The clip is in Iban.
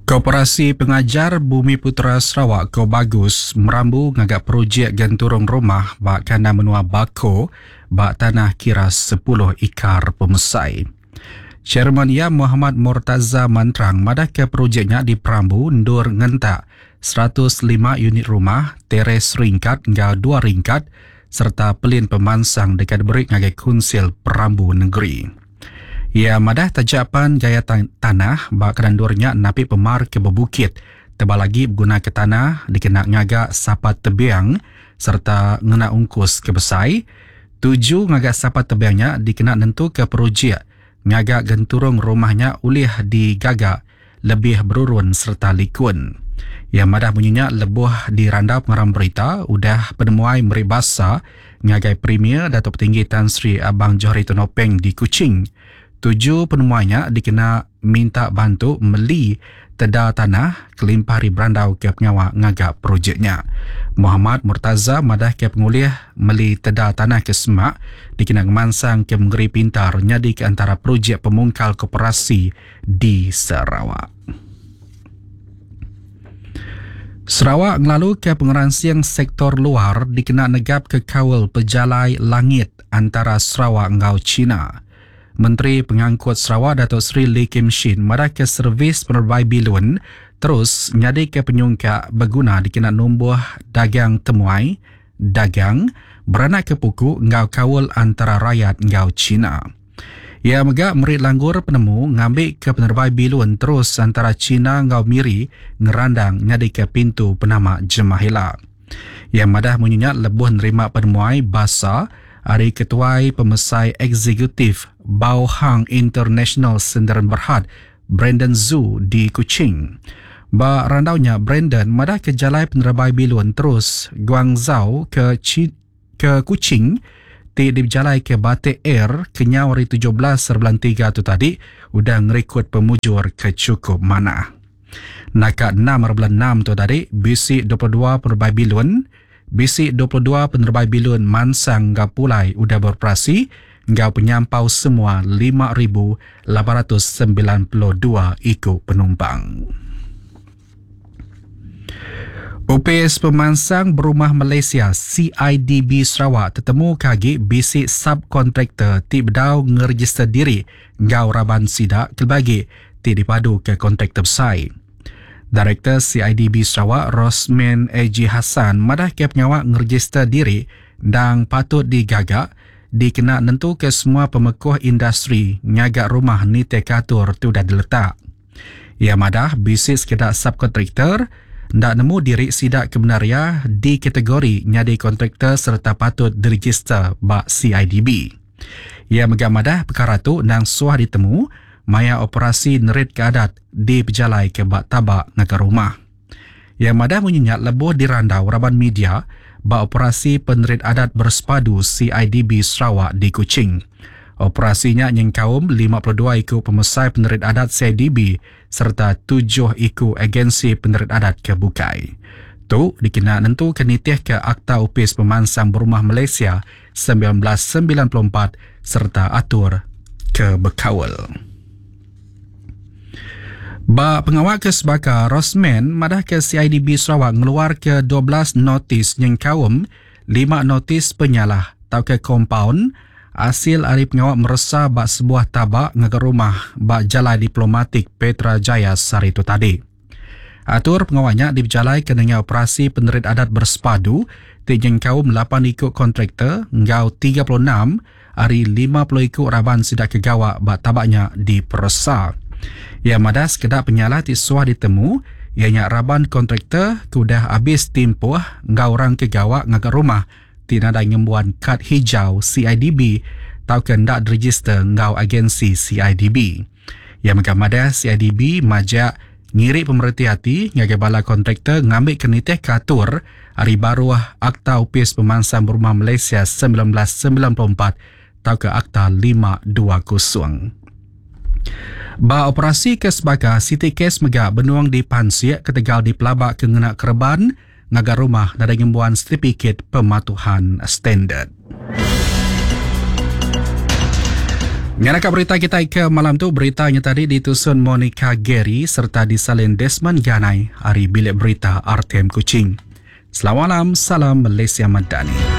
Koperasi Pengajar Bumiputera Sarawak Kobagus merambu ngaga projek genturung rumah ba kandang menua Bako ba tanah kira sepuluh ikar pemesai. Chairman iya Mohamad Mortaza Mantrang madahka projek nya diperambu endur ngentak 105 unit rumah teres ringkat enggau dua ringkat sereta pelin pemansang deka diberi ngagai Kunsil Perambu Nengeri. Iya madah taja pan gaya tanah ba kandang endur nya napi pemar ke bebukit tebal agi begunaka tanah dikena ngaga sapat tebing sereta ngena ungkus ke besai, tuju ngaga sapat tebing nya dikena nentuka projek ngaga genturung rumah nya ulih digaga lebih berurun sereta likun. Iya madah munyi nya lebuh dirandau pengarang berita udah penemuai meri basa ngagai Premier Datuk Patinggi Tan Sri Abang Johari Tun Openg di Kuching. Tuju penemuai nya dikena minta bantu meli teda tanah kelimpah ari berandauka pengawa ngaga projek nya. Mohamad Murtaza madahka pengulih meli teda tanah ke semak dikena ngemansangka mengeri pintar nyadika entara projek pemungkal koperasi di Sarawak. Sarawak ngelaluka pengeransing sektor luar dikena negapka kaul pejalai langit antara Sarawak enggau China. Menteri Pengangkut Sarawak Datuk Seri Lee Kim Shin madahka servis penerebai bilun terus nyadika penyungkak beguna dikena numbuh dagang temuai, dagang, beranakka puku enggau kaul antara rayat enggau China. Iya mega meri langgur penemu ngambika penerebai bilun terus antara China enggau Miri ngerandang nyadika pintu penama jemah ila. Iya madah munyi nya lebuh nerima penemuai basa ari Ketuai Pemesai Eksekutif Baohang International Sendirian Berhad, Brandon Zhu di Kuching. Ba randau nya, Brandon madahka jalai penerebai bilun terus Guangzhou ke ke Kuching ti dipejalaika Batik Air kenyau ari 17 bulan tiga tu tadi udah ngerikod pemujur ke chukup manah. Naka enam bulan enam tu tadi bisi 22 penerebai bilun bisi 22 penerebai bilun mansang enggau pulai udah beroperasi enggau penyampau semua 5,892 iku penumpang. Opis Pemansang Berumah Malaysia, CIDB, Sarawak tetemuka agi bisi subkontraktor ti bedau ngerejister diri enggau raban sida kelebih agi ti dipaduka kontraktor besai. Direktor CIDB Sarawak Rosman AG Hassan madahka pengawa ngerejister diri endang patut digaga dikena nentuka semua pemekuh industri ngaga rumah nitihka atur ti udah diletak. Iya madah bisi sekeda subkontraktor enda nemu diri sida ke bendar iya dikategori nyadi kontraktor sereta patut direjister ba CIDB. Iya mega madah pekara tu endang suah ditemu maya operasi neritka adat dipejalaika ba taba ngaga rumah. Iya madah munyi nya lebuh dirandau raban media ba Operasi Penerit Adat Bersepadu CIDB Sarawak di Kuching. Operasi nya nyengkaum 52 iku pemesai penerit adat CIDB sereta tujuh iku agensi penerit adat ke bukai. Tu dikena nentuka nitihka Akta Opis Pemansang Berumah Malaysia 1994 sereta atur ke bekaul. Ba pengawa ke sebaka, Rosman madahka CIDB Sarawak ngeluarka 12 notis nyengkaum lima notis penyalah tauka kompaun asil ari pengawa meresa ba sebuah taba ngaga rumah ba Jalai Diplomatik Petra Jaya sehari tu tadi. Atur pengawa nya dipejalaika nengah operasi penerit adat bersepadu ti nyengkaum lapan iku kontraktor enggau 36 ari 50 iku raban sida ke gawa ba taba nya diperesa. Iya madah sekeda penyalah ti suah ditemu iya nya raban kontraktor ke udah abis timpuh enggau orang ke gawa ngaga rumah ti nadai ngembuan kad hijau CIDB tauka enda direjister enggau agensi CIDB. Iya mega madah CIDB majak ngiri pemereti ati ngagai bala kontraktor ngambika nitihka atur ari baruh Akta Opis Pemansang Berumah Malaysia 1994 tauka Akta 520. Ba operasi ke sebaka, siti kes mega benung dipansik ketegal dipelabaka ngena kereban ngaga rumah nadai ngembuan setipikit pematuhan standard. Ngaraka berita kitai ke malam tu, berita nya tadi ditusun Monica Gary sereta disalin Desmond Ganai ari Bilik Berita RTM Kuching. Selamat malam, salam Malaysia Madani.